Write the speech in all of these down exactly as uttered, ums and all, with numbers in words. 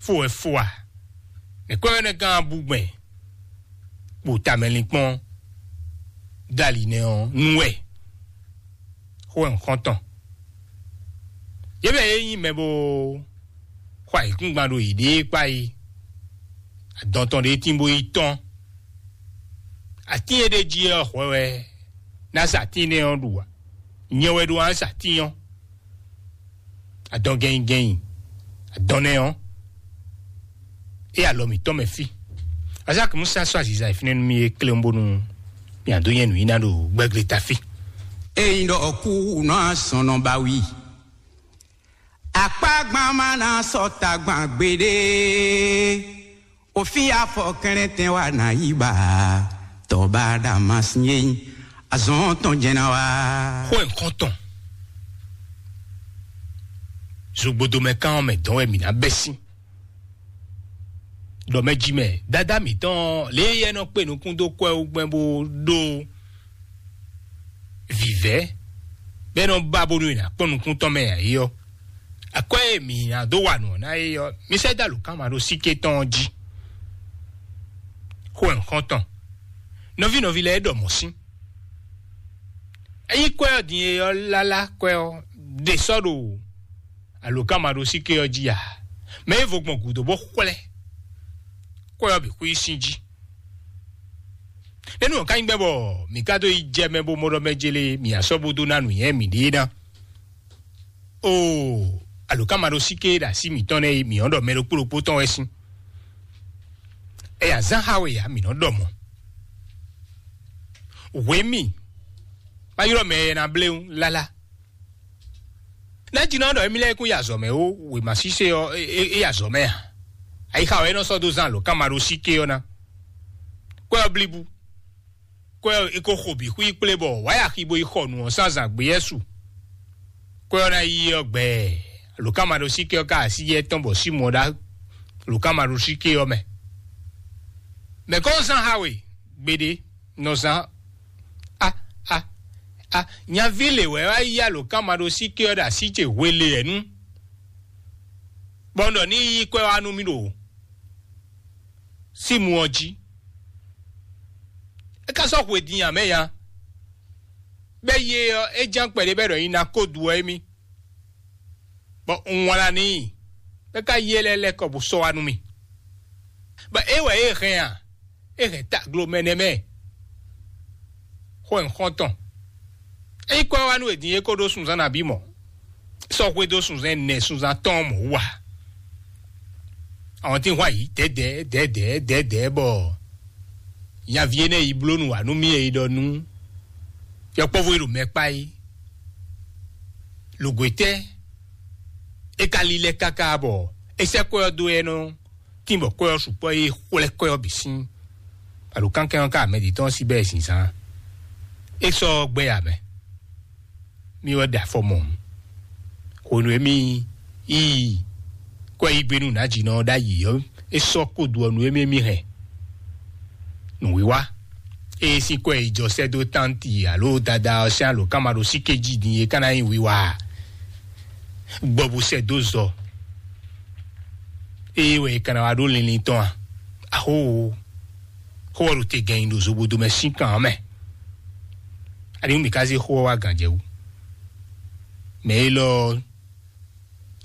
fó wɛ fó a? Mɛ kwɛ́ wɛ nɛ́ gán bú gbɛn kpo tamɛlinkpɔ́n dali nɛ́ ɔ́ nú wɛ xó wɛ un xɔ́n tɔn. Yě mɛ e nyí mɛ bó xɔ ayǐkúngban ɖo yěɖée kpá é, adɔn tɔn ɖé tín bó yi tɔ́n. Atín e ɖ'é jí ɔ́ hwɛ wɛ ná sa atín énɛ́ ɔ́ ɖu ǎ. Nyɛ wɛ ɖó ná sa atín ɔ́. Adɔn gɛnyi gɛnyi, adɔn nɛ́ ɔ́, é alɔ mǐtɔn mɛ fí. Azaki Musa sɔ́ aziza e fínɛ́ nú mì é klé bónú mì adó nyɛ nǔ nyi ná ɖo gbɛglé ta fí. Ényí ɖɔ kú nɔ asɔnɔ ba wi. Akpágbán má ná sɔ tagban gbeɖé. Òfin afɔ kɛnlɛntɛn wa ná yí ba. Tɔba Damasín azɔn tɔn jɛn ná wá. Xó ẹ̀ xɔ́n tɔn. Zogbodomɛ kan ɔ́ mɛ dɔn wɛ mǐ ná bɛ́ sín. Ɖɔ mɛ jí mɛ, dada mǐtɔn lě e yɛ nɔ kpe nukún dó kwɛ wú gbɛn bó ɖó vǐvɛ́ bɛ́ nɔ ba bónú è nǎ kpɔ́n nukún tɔn mɛ ǎ é ɔ́, akwɛ́ e mǐ ná dó wa nǔ ɔ́ ná é ɔ́, mi sɛ́ dó alǒkanmaɖósíké tɔn ɔ́ jí. Xó ɛ xɔ́ntɔn. Nɔví nɔví lɛ́ɛ é ɖɔ mɔ̌ sín. Ényí kwɛ́ ɔ́ din e ɔ́ lálá kwɛ́ ɔ́ ɖe sɔ́ ɖo alǒkanmaɖósíké ɔ́ jí a? Mɛ e vo gbɔn gǔdo bó xwlɛ́ kwɛ́ ɔ́ bǐ xwí sín jí. Nɛ́nú ɔ́ ka nyí gbɛ́ bɔ mǐ ka dó yi jɛ mɛ bó mɔ ɖɔ mɛ jélé mǐ asɔ́ bó dó ná nǔnywɛ́ mǐɖée ná? Oo, alǒkanmaɖósíké e ɖo así mǐtɔn nɛ́ e mǐ nɔ́ ɖɔ mɛ ɖokpó ɖokpó tɔn wɛ sín. Ɛyǎ zán xá we ǎ, mǐ nɔ́ ɖɔ mɔ̌. Hwě mì, ma ylɔ́ mɛ e ná blé ŋu lálá. Nɛ́ jí nɔ ɖɔ émí lɛ́ɛ kún yi azɔ̌ mɛ ó, wěma sísé ɔ́, é yi azɔ̌ mɛ a? Ayixa wɛ é nɔ sɔ́ dó zán alǒkanmaɖósíké ɔ́ ná. Kwɛ́ ɔ́ blíbú. Kwɛ́ ɔ́, é ko xo bǐ xwí kplé bɔ wǎ yi axi bó yi xɔ nǔ ɔ́ sín azǎn gbé yɛ́ su. Kwɛ́ ɔ́ ná yi ɔ́ gbɛɛ, alǒkanmaɖósíké ɔ́ ka así yɛ tɔn bɔ Símɔn ɖá alǒkanmaɖósíké ɔ́ mɛ. Mɛ̌ kɔn zán xá we gbeɖé nɔ zán? A a a nyaví lě wɛ wá yí alǒkanmaɖósíké ɔ́ ɖo así ce hweleyɛ̌nu, bɔ un ɖɔ ní yí kwɛ́ wá nú mì ɖo símu ɔ́ jí. É ka sɔ́ hwe din ǎ mɛ ya. Bɛ́ yé ɔ́, é ján kpɛɖé bɛ́ ɖɔ nyi ná kó du ɔ́ émí, bɔ un wlán n'i, bɔ é ka yí é lɛ́ lɛ́ kɔ bó sɔ́ wá nú mì. Bɔ é wɛ é hɛn a? É hɛn taglo mɛ nɛ́ mɛ. Xó ɛ xɔ́ntɔn. Ényí kɔ wá nú è din é kó ɖó sunnzán nabí mɔ̌, sɔ́ xwedó sunnzán ɛnɛ sunnzán tɔn mɔ̌ wú a? Àwọn tí ń hwa yìí dɛ̌dɛ̌ dɛ̌dɛ̌ dɛ̌dɛ̌ bɔ nyaví énɛ́ yi bló nǔ wá nú mì e yi ɖɔ nú yɔkpɔ́vú e ɖo mɛ kpá é. Lǒgwetɛ́ é ka lílɛ́ káká bɔ é sɛ́ kwɛ́ ɔ́ dó ɛ nɔ tín bɔ kwɛ́ ɔ́ sukpɔ́ é xwlɛ́ kwɛ́ ɔ́ bǐ sín. Alǒkankɛn ɔ́ ka mɛ jí tɔn sí bɛ́ zinzán. É sɔ́ gbɛ́ ya mɛ. Mì wɛ ɖe afɔ mɔ̌. Hwenu e mì yi kwɛ́ yí gbe nú nǎjínɔ ɔ́ ɖ'ayǐ ɔ́, é sɔ́ kó do ɔ́ nú émí émí hɛn. Nǔwiwa. Ée sín kwɛ́ yi jɔ sɛ́ dó tánti alo dada ɔ́ sín alǒkanmaɖósíké jí din é ka ná nyí wiwa a? Gbɔ bó sɛ́ dó zɔ. Ée wɛ è ka ná wá ɖó linlin tɔn a? Axóo! Xó ɔ́ ɖo te gɛnyi ɖo zobodo mɛ sín kan ɔ́ mɛ. Aniwú mǐ ka zé xó ɔ́ wá gǎn jɛ wú? Mɛ élɔ́ ɔ́,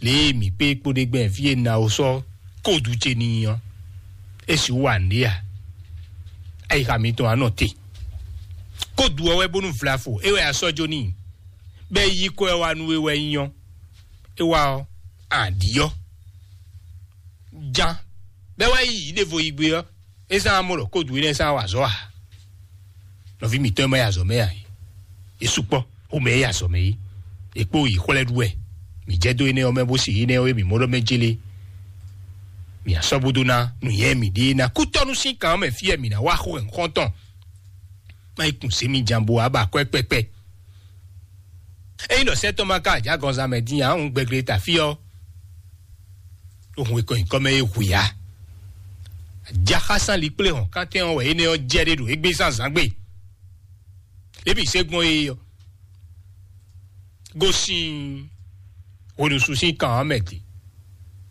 lě e mǐ kpé kpóɖé gbɛn fí e Nawo sɔ́ kódu ce n'i ɔ́, é sixú wa nǔɖé a? Ayixa mitɔn wá nɔ te. Kódu ɔ́ wɛ bónú vlafo é wɛ a sɔ́ jó n'i, bɔ é yí kɔ ɛ wá nú we wɛ nyí ɔ́, é wá ɔ́, a ɖǐ ɔ́. Jan, bɔ é wá yi yǐ ɖěvo yi gbé ɔ́, é zán amɔ ɖɔ kódu énɛ́ zán wa azɔ̌ ǎ. Nɔví mǐtɔn e ma yi azɔ̌ mɛ ǎ é, é sukpɔ́ xomɛ e yi azɔ̌ mɛ é, è kpó yi xwlɛ́ ɖu wɛ. Mǐ jɛ dó énɛ́ ɔ́ mɛ bó se énɛ́ ɔ́ e mǐ mɔ ɖɔ mɛ jélé. Mǐ asɔ́ bó dó ná nǔnywɛ́ mǐɖée ná kútɔ́nú sín kan ɔ́ mɛ fí wɛ mǐ ná wá xó wɛ nǔxɔ́ntɔn. Má yi kun zě mi jan bo wá ba akwɛ́ kpɛkpɛ. Ényí ɖɔ sɛ́ tɔn ma ka ajǎgɔnzán mɛ dín ǎ, un gbɛgle ta fí ɔ́, ɖo hun e kɔ nyǐkɔ mɛ é hu ya. Ajaxásán likplé hɔn kántɛn ɔ́ wɛ énɛ́ ɔ́ jɛ ɖé ɖo égbé zán zǎn gbe. Lě bǐ se gbɔn é ɔ́, gosín hweɖusu sín kan ɔ́ mɛ din.